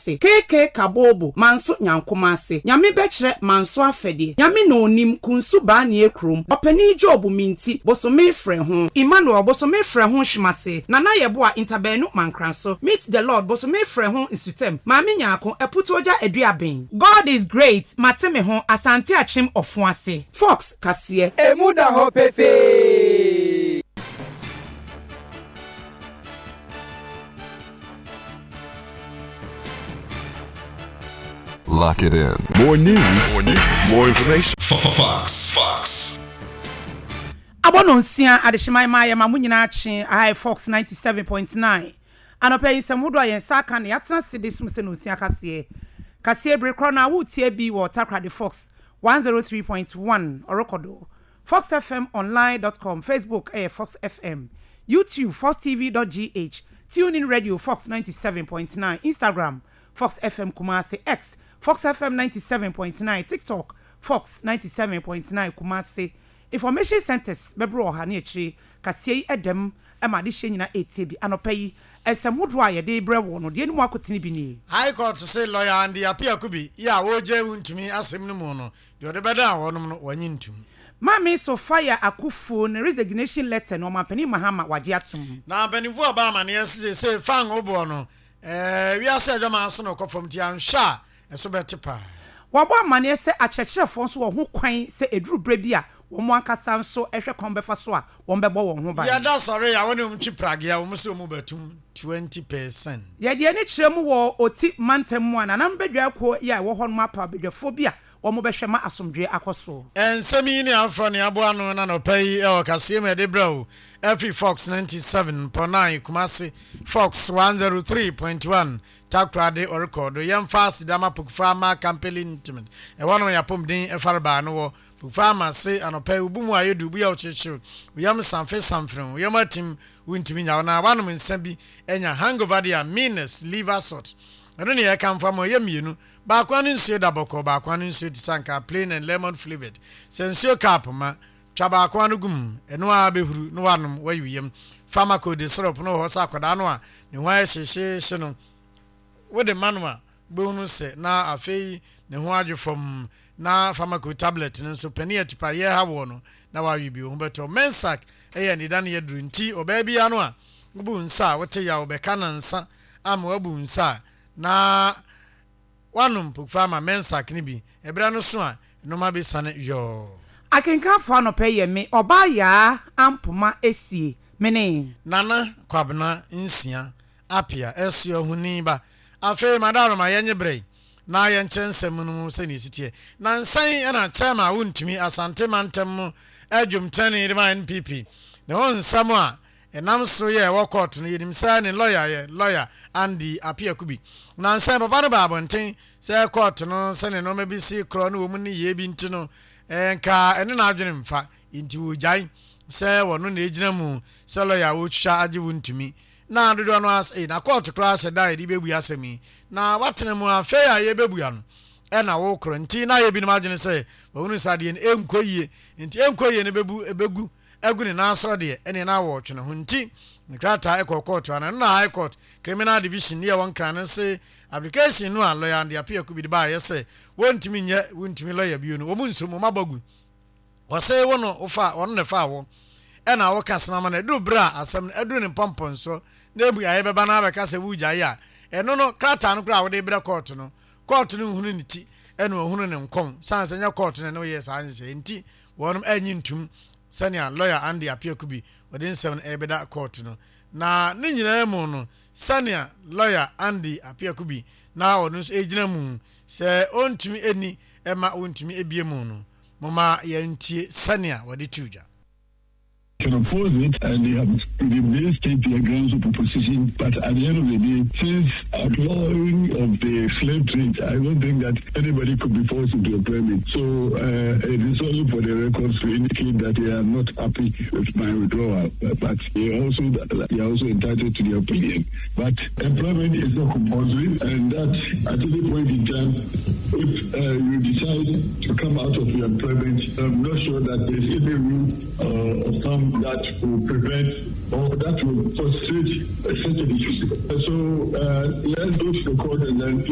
Ase, KK Kabobo, Manso Nyankoma Ase, Nyame Bɛkyerɛ Manso Afɛdeɛ, Nyame Na Onim, Kunsu Baanie Kurom, Ɔpanin Job Minti, Bosome Frɛ Ho, Emmanuel, Bosome Frɛ Ho Hwemase, Nana Yeboah, Ntabaanu Mankranso, Meet the Lord, Bosome Frɛ Ho Nsutam, Maame Nyarko, Aputuogya Aduaben. God is great, Mate Me Ho, Asante Akyem Ɔfoase. Fox Kaseɛ. Emu da hɔ pefee. Lock it in. More news, more news, more information. Fox. Fox. Abɔ nonsia adehyeman ma yɛma mo nyinaa kye aha yɛ Fox 97.9 anɔpa yi nsɛm hodoɔ a yɛn nsa aka na yɛatena ase de som sɛ nonsia kaseɛ kaseɛ bere korɔ no a woretie bi wɔ Takoradi Fox 103.1 ɔrekɔ do foxfmonline dot com Facebook yɛ Fox FM YouTube foxtv dot gh TuneIn Radio Fox 97.9 Instagram Fox FM Kumasi X Fox FM 97.9 TikTok Fox 97.9 Kumasi Information Centres bɛboro ɔha ne akyire kaseɛ yi ɛdɛm ma adehyeɛ nyina ɛretie bi anɔpa yi nsɛm hodoɔ a yɛde rebrɛ wo no deɛ ɛni mu akotene bi nie. High Court se Lawyer Andy Appiah Kubi yi a ɔregyae Wontumi asem no mu no, deɛ ɔde bɛdan wɔnom no wannye ntum. Maame Sophia Akuffo ne resignation letter no Ɔmanpanin Mahama wagye atom. Na mpanimfoɔ a ɔbaa amaneɛ se seesei fango boɔ no, ɛɛ wiase adwaman so na ɔkɔ fam nti anhwɛ a ɛso bɛte paa. Wɔabɔ amaneɛ sɛ akyerɛkyerɛfoɔ nso wɔ ho kwan sɛ ɛduru berɛ bi a wɔn ankasa nso hwɛ kwan bɛfa so a wɔbɛbɔ wɔn ho ban. Yɛda sɔre a wɔne wɔn twi pragea wɔn se wɔn bɛtum 20%. Yɛde ani kyerɛ mu wɔ Oti mantam mu a Nananom Badwa Akuo yi a ɛwɔ hɔ nom apaw badwafoɔ bi a wɔbɛhwɛ ma asomdwoeɛ akɔ so. Nsɛm yi ne afoforɔ ne aboa ano no anɔpa yi wɔ kaseɛ mu a yɛde brɛ wo afiri Fox 97.9 Kumasi, Fox 103.1 Takoradi ɔrekɔ do. Yɛmfa aseda ma Pokufaa Ama Kampeli Ntmd. Ɛhɔ nom yɛapɔmuden farebaa no wɔ. Pokufaa Ama se anɔpa yi wo bo mu ayɛ du, wo bo yɛ wo kyewkyew, wo yam samfe samfene, wo yam atim, wontumi nya wo na woanom nsa bi anya hangover de a Meanest Liver Salt. Ɛno ne yɛkamfo ama wo, ɛyɛ mmienu. Baako ano nsuo da bɔkɔɔ, baako ano nsuo te sɛ ankaa, plain and lemon flavoured. Sɛ nsuo cup ma, twa baako ano gu mu, ɛno ara bɛhuru na woanom, woayi wo yam. Pharmacode syrup no wɔ hɔ sɛ akwadaa no a ne ho ayɛ hyehyeehye no, wode ma no a, wobɛhunu sɛ na afei ne ho adwo fam. Na Pharmacode tablet no nso, panin a tipaeɛ ha woɔ no, na woawe bi, wo ho bɛtɔ wo. Mensac yɛ anidaneɛ aduro nti ɔbaa biara no a wobu nsa a wote yaw bɛka nansa ama woabu nsa a, na Woanom pokfa ama Mensak no bi, ɛberɛ no so a, nnoɔma bɛsiane yɔɔ. Akenkanfoɔ anɔpa yi yɛ me ɔbaa Yaa Ampoma Esie, me ne. Nana Kwabena Nsia Apia Asuahuni ba. Afei Madaroma yɛnye berɛ yi na yɛnkyerɛ nsɛm no mu sɛdeɛ ɛsi teɛ. Nansa yi na Chairman a wontumi Asante mantam mu dwomtenani de ma NPP ne ho nsɛm a Ɛnam so yɛ ɛwɔ kɔɔto no, yɛnim sɛ ne lɔya yɛ Lɔya Andy Appiah-Kubi. Nnansa yi, papa no baa abɔnten sɛ kɔɔto no sɛnea nneɛma bi si korɔ ne wɔn nneyɛe bi nti no, nka ɛne n'adwene mfa, enti wɔgyae sɛ wɔno na ɛgyina mu sɛ lɔya a wɔretwitwa agye wo ntumi. Na dodoɔ no ara sɛ, ei, na kɔɔto koraa hyɛ da a yɛde bɛbua asɛm yi, na woatena mu afei a yɛrebɛbua no ɛna wokorɔ. Nti na ayɛ binom adwene sɛ wɔahunu sɛ adeɛ no ɛnkɔ yie, nti ɛnkɔ yie no bɛbu, ɛbɛgu. agu ne nan so deɛ, ɛneɛ na wɔretwe ne ho nti ne krataa kɔɔ kɔɔto ana. Ɛno na High Court Criminal Division ne ɛwɔ Nkran no se application no a lɔya Andy Appiah Kubi de baeɛ sɛ wɔntumi nyɛ wontumi lɔya bio no, wɔn nsom, wɔn abɔ agu. Wɔse wo no wofa, ɔno na ɛfaa wo ɛna woka asɛm ama no, ɛduru berɛ a asɛm no aduru ne mpɔmpɔnsoɔ na mmuaeɛ bɛba na abɛka sɛ woregyae a, ɛno no krataa no koraa a wode rebrɛ kɔɔto no, kɔɔto no nhunu ne ti ɛna ɔhunu ne nkɔn, sane sɛ nyɛ kɔɔto na ɛne wo yɛɛ saa nhyehyɛeɛ nti Wɔnom annye ntum sɛnea lɔya Andy Appiah-Kubi ɔde nsɛm no rebɛda kɔɔto no. Na ne nyinaa mu no, sɛnea lɔya Andy Appiah-Kubi na ɔno nso regyina mu sɛ ɔntumi nni mma wontumi abue mu no, momma yɛntie sɛnea wɔde too dwa. Can oppose it and they have they may state their grounds of opposition but at the end of the day since outlawing of the slave trade I don't think that anybody could be forced into employment so uh, it is only for the records to indicate that they are not happy with my withdrawal but they also they are also entitled to their opinion but employment is not compulsory and that at any point in time if uh, you decide to come out of your employment I'm not sure that there's any rule uh, or some that will prevent or that will frustrate such a decision. So uh, let's go to the court and then.